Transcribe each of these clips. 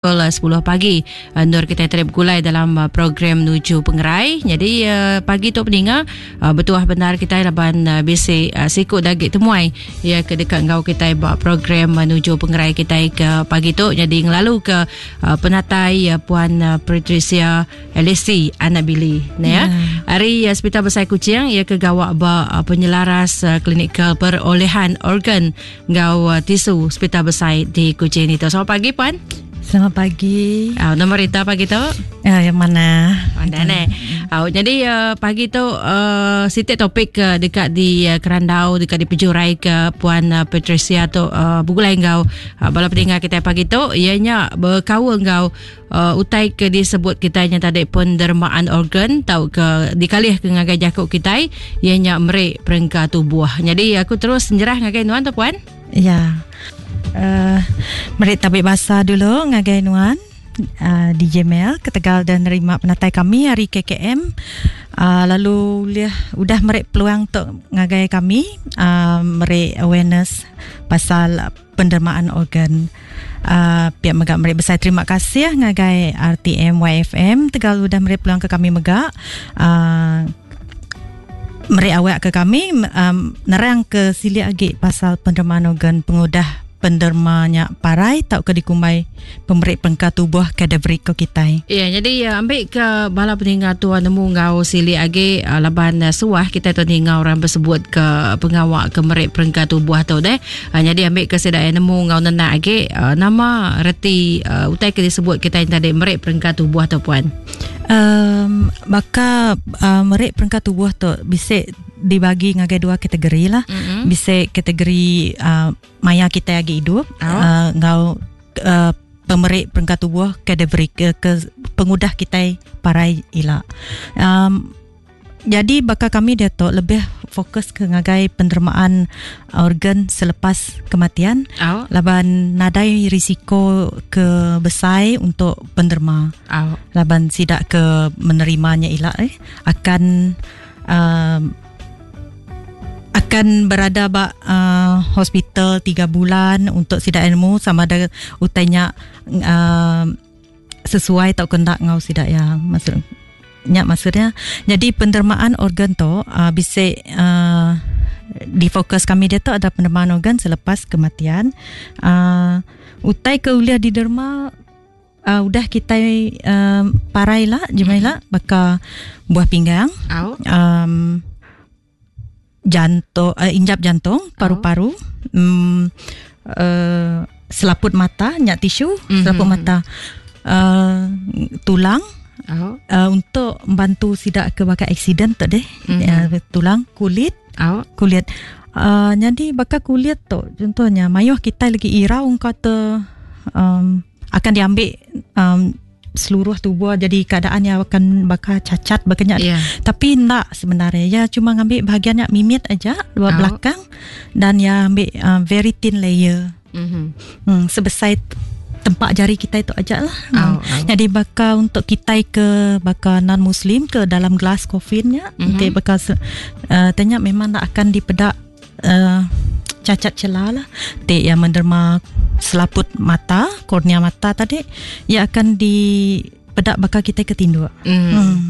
Pukul 10 pagi endur kitai tadi begulai dalam program Nuju Pengerai. Jadi pagi tu peninga betuah bendar kitai laban bisi siku da agi temuai iya ke deka enggau kitai ba program Nuju Pengerai kitai ke pagi tu. Jadi ngelalu ke penatai Puan Patricia Alesi anak Billy ne ya. Ari Hospital Besai Kuching iya ke gawa ba penyelaras klinikal perolehan organ enggau tisu Hospital Besai di Kuching ditu. Selamat pagi puan. Selamat pagi. Uh, nama Rita pagi tu? Uh, yang mana? Mana ne? Uh, jadi uh, pagi tu uh, siti topik ke uh, dekat di uh, Kerandau dekat di Pejurai ke Puan uh, Patricia tu uh, begulai enggau uh, bala pendengar kita pagi tu ianya berkaul enggau uh, utai ke disebut kitai nya tadi pendermaan organ tauka dikalih ke ngagai jaku kitai iya nya meri perengka tubuh. Jadi aku terus nyerah ngagai nuan tu puan. Ya. Uh, meri tabi basa dulu ngagai nuan uh, DJ Mel ketegal dan nerima penatai kami hari KKM uh, lalu ulih udah meri peluang tu ngagai kami uh, meri awareness pasal pendermaan organ. Uh, pihak mega meri besai terima kasih ngagai RTM YFM tegal udah meri peluang ke kami mega uh, meri awak ke kami um, nerang ke silik agi pasal pendermaan organ pengudah penderma nya parai tauka dikumbai pemeri perengka tubuh cadaveric ko kitai. Ya, jadi ya, ambil ke bala peninga tua nemu enggau silik agi eh, laban eh, suah kita tu ninga orang bersebut ke pengawa ke meri perengka tubuh tu deh. Eh, jadi ambil ke sida nemu enggau nenak agi nama reti utai ke disebut kita yang tadi meri perengka tubuh tu puan. Um, baka uh, meri perengka tubuh tu bisa dibagi ngagai dua kategori lah. Mm-hmm. Bisa kategori uh, maya kitai agi idup oh. uh, enggau uh, pemeri perengka tubuh cadaveric ke, ke pengudah kitai parai ila. Um, jadi baka kami diatu lebih fokus ke ngagai penerimaan organ selepas kematian oh. laban nadai risiko ke besai untuk penderma. Oh. Laban sidak ke menerimanya ila eh akan um, akan berada ba uh, hospital 3 bulan untuk sida ilmu sama ada utainya uh, sesuai atau kena ngau sida ya maksud nya maksudnya jadi pendermaan organ tu uh, bisa uh, di fokus kami dia tu ada pendermaan organ selepas kematian uh, utai ke ulih diderma uh, udah kitai um, parai lah jemai lah baka buah pinggang um, jantung uh, injap jantung paru-paru um, uh, selaput mata nyak tisu mm-hmm. selaput mata uh, tulang oh. uh, untuk membantu sidak ke bakal accident tu deh mm-hmm. uh, tulang kulit oh. kulit uh, jadi bakal kulit tu contohnya mayuh kita lagi irau kata um, akan diambil um, seluruh tubuh jadi keadaannya akan bakal cacat bakanya yeah. tapi nak sebenarnya ya cuma ngambil bahagiannya mimit aja dua oh. belakang dan ya ambil uh, very thin layer mm-hmm. hmm, sebesar tempat jari kita itu aja lah. Oh, oh. Jadi bakal untuk kita ke bakal non muslim ke dalam glass coffinnya mm-hmm. nanti bakal uh, tanya memang nak akan dipedak uh, cacat celah lah. Tik yang menderma selaput mata, kornea mata tadi, ia akan dipedak bakal kita ketinduk. Mm. Hmm.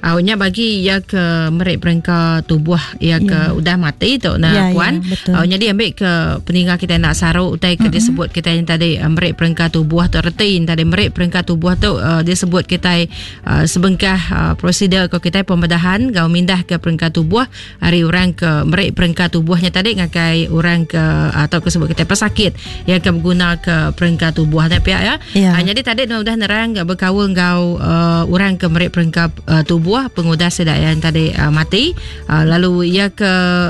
Awaknya bagi ia ke merik perengka tubuh ia ke yeah. udah mati tu nah yeah, puan. Yeah, Awaknya dia ambil ke peninggal kita nak saruk utai ke mm-hmm. disebut kita yang tadi eh, merik perengka tubuh tu reti yang tadi merik perengka tubuh tu uh, disebut kita uh, sebengkah uh, prosedur ke kita pembedahan gau mindah ke perengka tubuh ari orang ke meri perengka tubuhnya tadi ngagai orang ke atau ke sebut kita pesakit yang ke beguna ke perengka tubuh nya pia ya. Yeah. Uh, jadi tadi udah nerang berkaul enggau uh, orang ke meri perengka uh, tubuh pengudah sida yang tadi uh, mati uh, lalu ia ke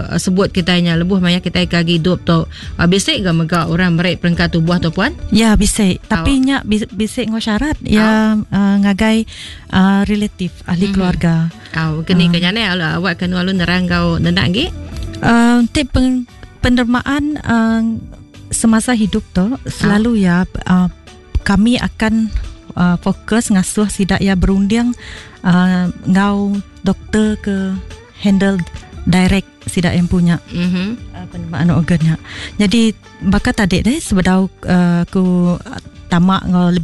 uh, sebut kita nya lebuh maya kita ke agi hidup tu uh, bisi ke mega orang meri perengka tubuh tu puan? Ya bisi tapi nya bisi ngau syarat ya uh, ngagai uh, relatif ahli mm-hmm. keluarga. Au keni ke nyane awak ke nualu nerang kau nenak agi? Uh, tip pen, pendermaan uh, semasa hidup tu selalu ya uh, kami akan uh, fokus ngasuh sidak ya berunding uh, ngau doktor ke handle direct sidak yang punya mm-hmm. uh, pendermaan organnya. Jadi baka tadi deh sebedau uh, aku tama ngau lebih.